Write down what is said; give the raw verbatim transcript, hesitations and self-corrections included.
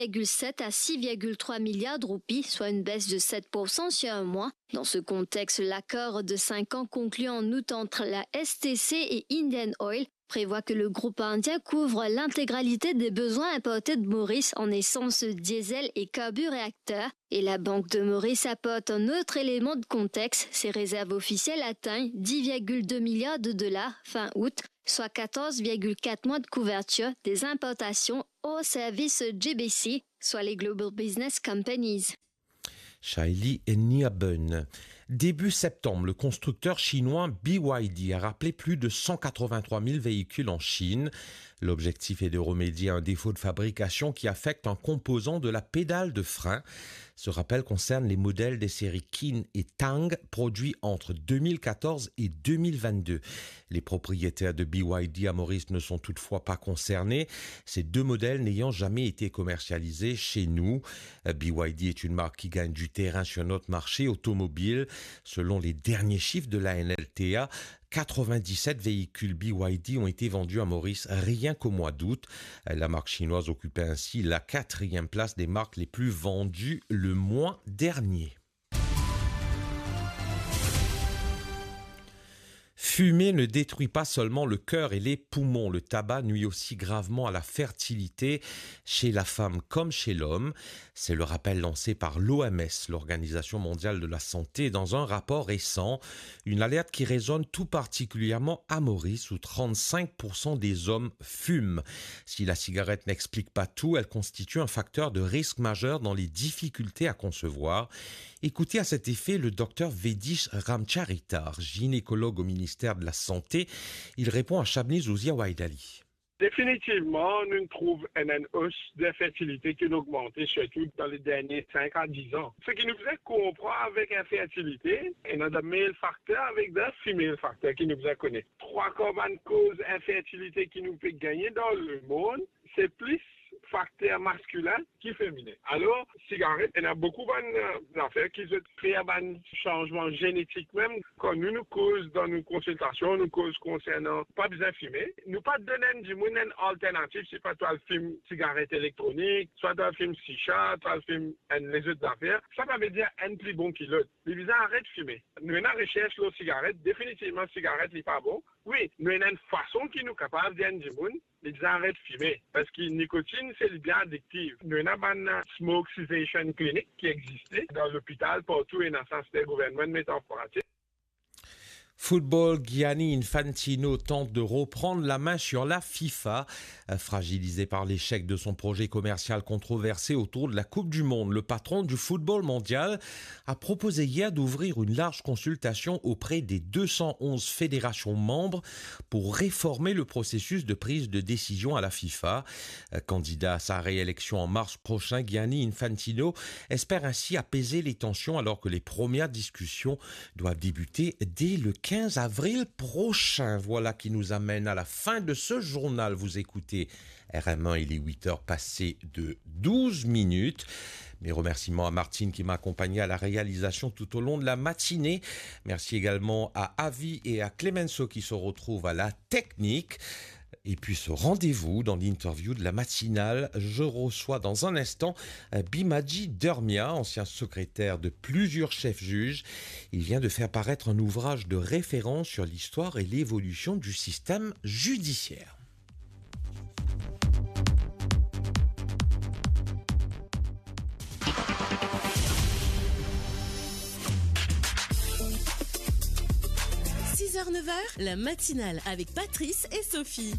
virgule sept à six virgule trois milliards de roupies, soit une baisse de sept pour cent sur un mois. Dans ce contexte, l'accord de cinq ans conclu en août entre la S T C et Indian Oil prévoit que le groupe indien couvre l'intégralité des besoins importés de Maurice en essence, diesel et carburéacteurs. Et la Banque de Maurice apporte un autre élément de contexte. Ses réserves officielles atteignent dix virgule deux milliards de dollars fin août, soit quatorze virgule quatre mois de couverture des importations hors service G B C, soit les Global Business Companies. Shaili Niaben. Début septembre, le constructeur chinois B Y D a rappelé plus de cent quatre-vingt-trois mille véhicules en Chine. L'objectif est de remédier à un défaut de fabrication qui affecte un composant de la pédale de frein. Ce rappel concerne les modèles des séries Qin et Tang produits entre deux mille quatorze et deux mille vingt-deux. Les propriétaires de B Y D à Maurice ne sont toutefois pas concernés, ces deux modèles n'ayant jamais été commercialisés chez nous. B Y D est une marque qui gagne du terrain sur notre marché automobile. Selon les derniers chiffres de la N L T A, quatre-vingt-dix-sept véhicules B Y D ont été vendus à Maurice rien qu'au mois d'août. La marque chinoise occupait ainsi la quatrième place des marques les plus vendues le mois dernier. Fumer ne détruit pas seulement le cœur et les poumons, le tabac nuit aussi gravement à la fertilité chez la femme comme chez l'homme. C'est le rappel lancé par l'O M S, l'Organisation mondiale de la santé, dans un rapport récent. Une alerte qui résonne tout particulièrement à Maurice, où trente-cinq pour cent des hommes fument. Si la cigarette n'explique pas tout, elle constitue un facteur de risque majeur dans les difficultés à concevoir. Écoutez à cet effet le docteur Vedish Ramcharitar, gynécologue au ministère de la Santé. Il répond à Shabnez Ouzia Waidali. Definitivman, nou trouv enn, enn os de infertilite ki inn ogmante, sirtou dan le dernie sink a diz an. Seki nou bizin konpran avek infertilite, ena de male factor avek de female factor ki nou bizin kone. Trwa kar bann koz infertilite ki nou pe gagne dan lemond, se plis fakter maskilin ki feminen. Alor, sigaret, ena boukou bann, eh, zafer ki zot fer bann sanzman zenetik mem. Kan nou, nou koz dan nou konsiltasion, nou koz konsernan pa bizin fime, nou pa donn enn dimoun enn alternativ, swa to al fim sigaret elektronik, swa to al fim shisha, to al fim enn lezot zafer. Sa pa vedir enn pli bon ki lot. Li bizin aret fime. Nou ena resers lor sigaret, definitivman sigaret li pa bon. Wi, nou ena enn fason ki nou kapav dir enn dimoun, li bizin aret fime, parski nikotinn, se li bien adiktif. Nou ena bann, eh, smoke cessation clinic ki existe dan lopital, partou ena sa, se gouvernman met an pratik. Football, Gianni Infantino tente de reprendre la main sur la FIFA. Euh, fragilisé par l'échec de son projet commercial controversé autour de la Coupe du Monde, le patron du football mondial a proposé hier d'ouvrir une large consultation auprès des deux cent onze fédérations membres pour réformer le processus de prise de décision à la FIFA. Euh, candidat à sa réélection en mars prochain, Gianni Infantino espère ainsi apaiser les tensions alors que les premières discussions doivent débuter dès le quinze avril prochain. Voilà qui nous amène à la fin de ce journal. Vous écoutez R M un, il est huit heures passées de douze minutes. Mes remerciements à Martine qui m'a accompagné à la réalisation tout au long de la matinée. Merci également à Avi et à Clemenceau qui se retrouvent à la technique. Et puis ce rendez-vous dans l'interview de la matinale. Je reçois dans un instant, euh, Bimaji Dermia, ancien secrétaire de plusieurs chefs juges. Il vient de faire paraître un ouvrage de référence sur l'histoire et l'évolution du système judiciaire. Six heures, neuf heures, la matinale avec Patrice et Sophie.